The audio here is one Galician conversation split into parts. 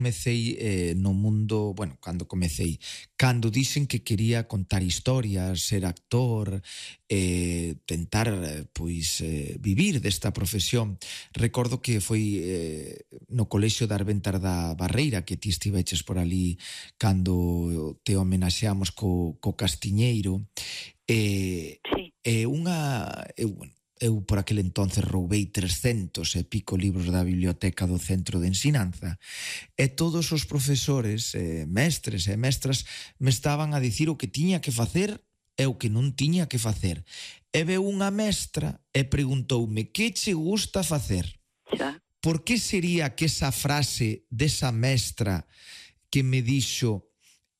comecei no mundo, bueno, cando dixen que quería contar historias, ser actor, tentar, vivir desta profesión. Recordo que foi no colexio de Arbentar da Barreira, que ti estiveches por ali cando te homenaxeamos co Castiñeiro. Sí. Eu por aquel entonces roubei 300 e pico libros da biblioteca do Centro de Ensinanza e todos os profesores, mestres e mestras me estaban a dicir o que tiña que facer e o que non tiña que facer. E veu unha mestra e preguntoume que che gusta facer. Xa. Por que sería que esa frase desa mestra que me dixo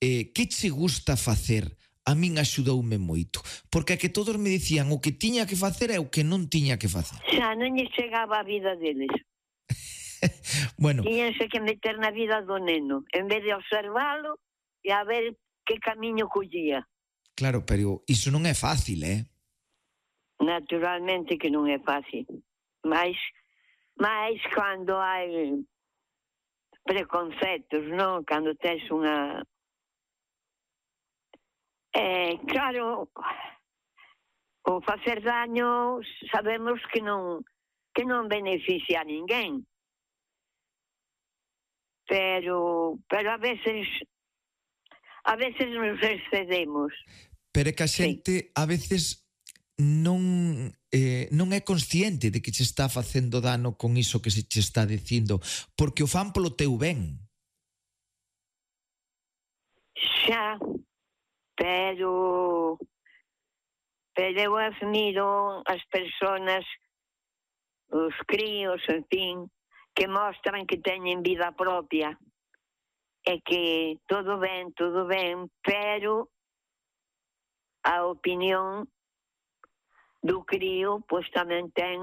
que che gusta facer a min axudoume moito, porque a que todos me dicían o que tiña que facer e o que non tiña que facer. Xa non lle chegaba a vida deles. Bueno, Tíñanse que meter na vida do neno, en vez de observalo e a ver que camiño collía. claro, pero iso non é fácil, Naturalmente que non é fácil. Mas cando hai preconceptos, non? Cando tes unha... claro, o facer daño sabemos que non beneficia a ninguén. Pero a veces nos excedemos. pero é que a xente a veces non é consciente de que che está facendo dano con iso que se che está dicindo, porque o fan polo teu ben. Xa, pero eu admiro as persoas, os críos, en fin, que mostran que teñen vida propia e que todo ben, pero a opinión do crío pois tamén ten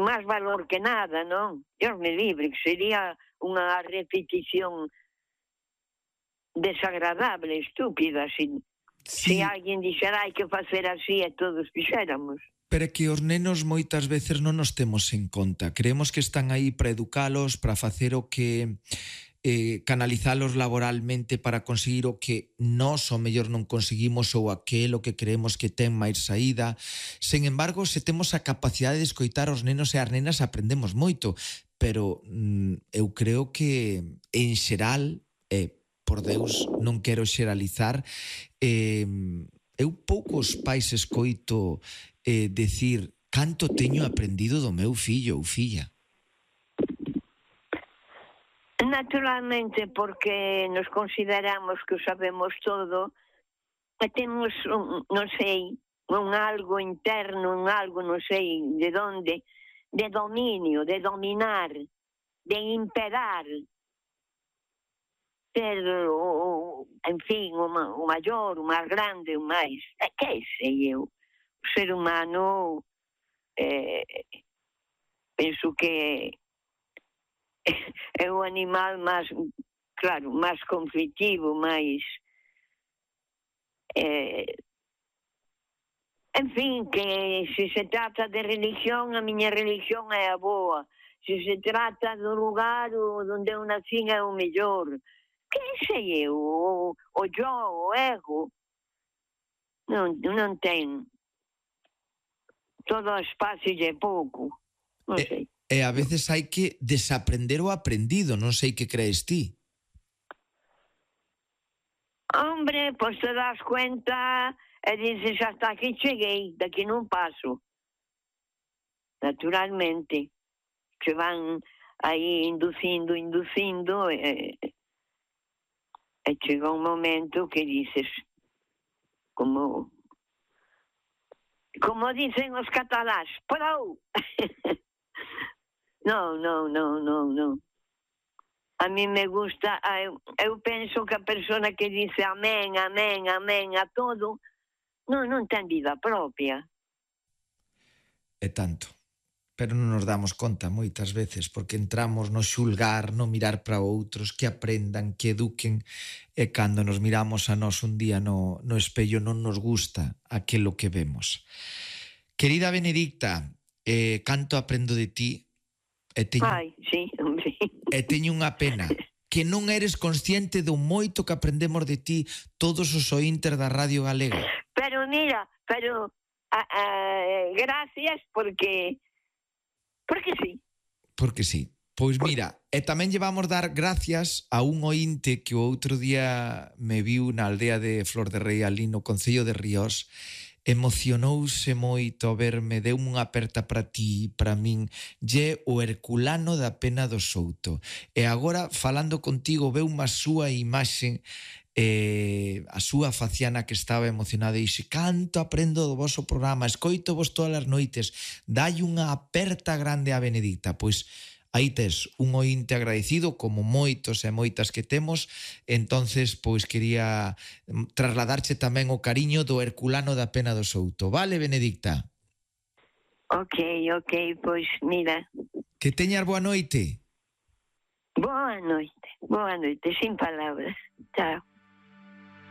máis valor que nada, non? Dios me libre, que sería unha repetición desagradable, estúpida, se alguén dixera hai que facer así e todos fixéramos. Pero é que os nenos moitas veces non nos temos en conta. Creemos que están aí para educalos, para facer o que... canalizalos laboralmente para conseguir o que nós o mellor non conseguimos ou aquelo que creemos que ten máis saída. Sen embargo, se temos a capacidade de escoitar os nenos e as nenas, aprendemos moito. Pero eu creo que en xeral, por Deus, non quero xeralizar, eu poucos pais escoito decir canto teño aprendido do meu fillo ou filla. Naturalmente, porque nos consideramos que o sabemos todo e temos, non sei, un algo interno, un algo, non sei de onde, de dominio, de dominar, de imperar, ser, en fin, o maior, o máis grande, o máis... que sei eu? O ser humano, penso que é o animal máis, claro, máis conflitivo, máis... en fin, que se se trata de religión, a miña religión é a boa. Se se trata do lugar onde eu nací é o mellor. Que sei eu? O yo, o ego. Non ten. Todo espacio é pouco. Non sei. E a veces hai que desaprender o aprendido, non sei que crees ti. Hombre, pois te das cuenta e dices hasta aquí cheguei, daqui non paso. Naturalmente, que van aí inducindo e chega un momento que dices, como dicen os catalás, prou! Non. A mí me gusta, eu penso que a persona que dice amén a todo, non ten vida propia. É tanto. Pero non nos damos conta moitas veces, porque entramos no xulgar, no mirar para outros, que aprendan, que eduquen, e cando nos miramos a nós un día no espello non nos gusta aquilo que vemos. Querida Benedicta, canto aprendo de ti, Ai, sí, hombre. E teño unha pena, que non eres consciente do moito que aprendemos de ti todos os ointes da Radio Galega. Pero mira, gracias porque sí. Porque sí. Pois mira, e tamén llevamos dar gracias a un ointe que o outro día me viu na aldea de Flor de Rei, ali no Concello de Ríos. Emocionouse moito a verme, deu unha aperta para ti, para min, lle o Herculano da Pena do Souto. E agora, falando contigo, veu unha súa imaxe, a súa faciana que estaba emocionada e dixe: canto aprendo do voso programa, escoito vos todas as noites, dai unha aperta grande a Benedicta. Pois aí tes un ointe agradecido, como moitos e moitas que temos. Entonces, pois quería trasladarche tamén o cariño do Herculano da Pena do Souto. Vale, Benedicta? Ok, pois mira. Que teñas boa noite. Boa noite, sin palabras. Chao.